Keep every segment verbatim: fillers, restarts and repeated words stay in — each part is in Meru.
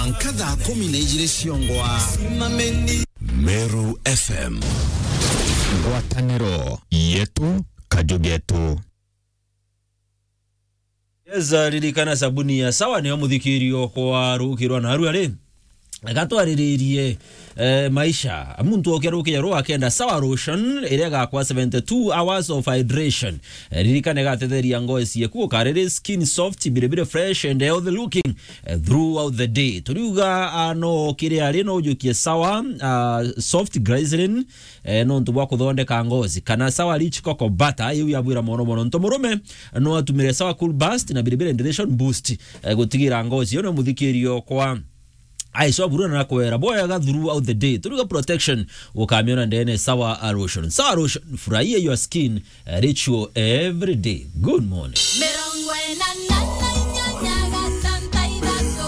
Mwanka thaa kumi na ijiri ciongwa. Meru F M. Ngwataniro yetu, kaju getu. Yes, ririkana sabuni ya Sawa niyo muthikirio kwa ruki rwa narua ri. Gatwariririe, eh, maisha. Muntu okia ruki rwa akenda Sawa Lotion, iria gakwa seventy-two hours of hydration. Eh, ririkana igatetheria ngozi yaku ukariri skin soft, biribiri fresh and healthy looking, eh, throughout the day. Turiuga, ah, no kiri ari no ujukie Sawa, ah, soft glycerin, eh, nontu bwa kuthondeka ngozi, kana Sawa Rich Cocoa Butter, iu yabwira mono mono. Nontu murume no atumire Sawa Cool Burst na Bilibili Hydration Boost, eh, gutigira ngozi iyo ni muthikirio kwa aico buruna na kwera bwega throughout the day. Turiuga protection, ukamiona ndene Sawa Lotion. Sawa Lotion, furahia your skin, eh, ritual every day. Good morning. Mirongo ina na inyanya gatanta ithatu.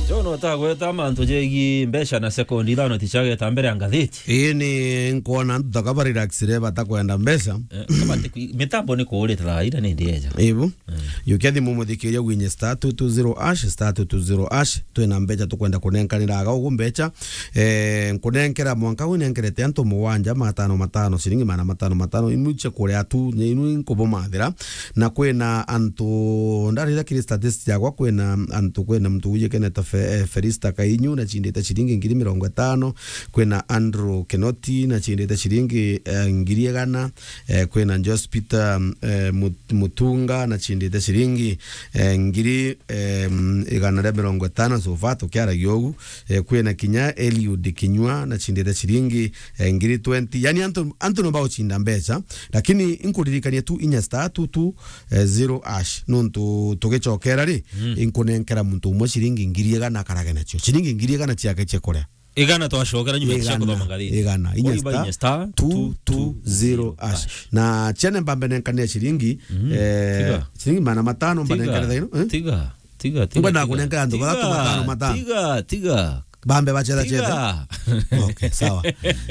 John, utagweta mantu jegi mbeca na sekondi ithano tichageta mbere ya ngathiti. Ii ni nkwona antu taka ba relaxire batakwenda mbeca. Eh, kabati kwi-, mitambo ni kuurite thaa ira ni ndieja. Ibu. Mm. Yukia thimu muthikiria gwinye star two two zero hash, star two two zero hash. Twina mbeca tukwenda kunenkanira aga ugu mbeca. Eh, nkunenkera mwanka wi nenkerete antu mugwanja, matano matano, ciringi magana matano matano, imwe cia kuria tu, ni inu nkubumathira. Na kwina antu ndarira kiri statistic yakwa, kwina antu, kwina muntu wijikene ta Fe-, eh, Felista Kainyu, na chindite ciringi ngiri mirongo itano, kwina Andrew Kinoti, na chindite ciringi, eh, ngiri igana, eh, kwina Jospita, eh, Mut-, Mutunga, na chindite ciringi, eh, ngiri, eh, igana ria mirongo itano, so far tukiaragia ugu, eh, kwina kinya Eliud Kinyua, na chindite ciringi, eh, ngiri twenty. Yani antu, antu no baguchinda mbeca, lakini inkuririkania tu inya star two two zero hash, nontu tugicokera ri, mm, inkunenkera muntu umwe ciringi ngiri igana akarage nacio. Ciringi ngiri igana ciake cia kuria. Igana twacokera nyuma ya kuthoma ngathiti. Igana. Inya star two two zero hash. Na chene mbambe nenkania ciringi, mm, eh, tiga, ciringi magana matano mbanenkere thaino, eh? Tiga, tiga, tiga. Ngwenda kunenkera antu bathatu matano matano. Tiga, tiga. Bambe bacetha cetha. Tiga. Okay, sawa.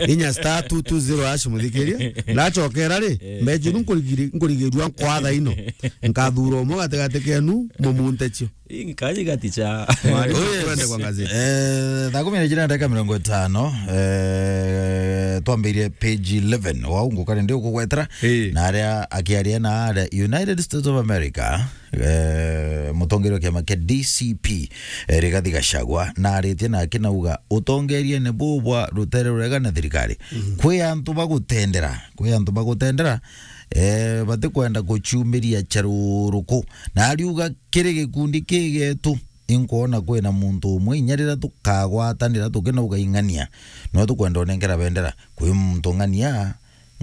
Inya star two two zero hash muthikirie. Ndacokera ri, eh, mbeca inu nkurigiri-, nkurigirua nkwa thaino. Nkathura umwe gatigati kenu, mumunte cio. Inkaji gaticha. Mwari, oh, yes, twende kwa ngathiti. Eh, thaa kumi na ijiri na ndagika mirongo itano, eh, twambirie page eleven. Wau nguka ni ndi ukugwetera. Eh. Na aria akiaria na aria United States of America, eh, mutongeria wa kiama kia D C P, eh, Rigathi Gachagua, na aritie na akinauga utongeriene buu bwa rutere rurega na thirikari. Mhm. Kwi antu bagutendera, kwi antu bagutendera, eh, batikwenda guciumiria charuruku. Na ariuga kiri gikundi kigetu, inkwona kwina muntu umwe inya riria tukagwatanira tukinauga ing'ania, no tukwenda unenkera bendera. Kwi muntu ng'ania,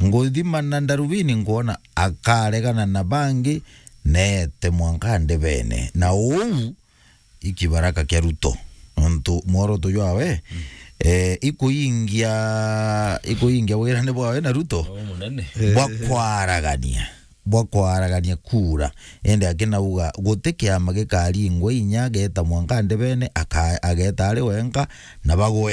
nguthima na ndarubini nkwona akaregana na bangi, neete mwanka ndebene. Na uu ikibaraka kia Ruto. Nontu mworoto jwawe, mm, eh, ikuingia, ikuingia wirane bwawe na Ruto. Oh, munene. Bwa kwaragania, bwa kwaragania kura. Indi akinauga guti kiama gikaringwa inya ageta mwanka ndebene, aka-, ageta ari wenka na bagwe.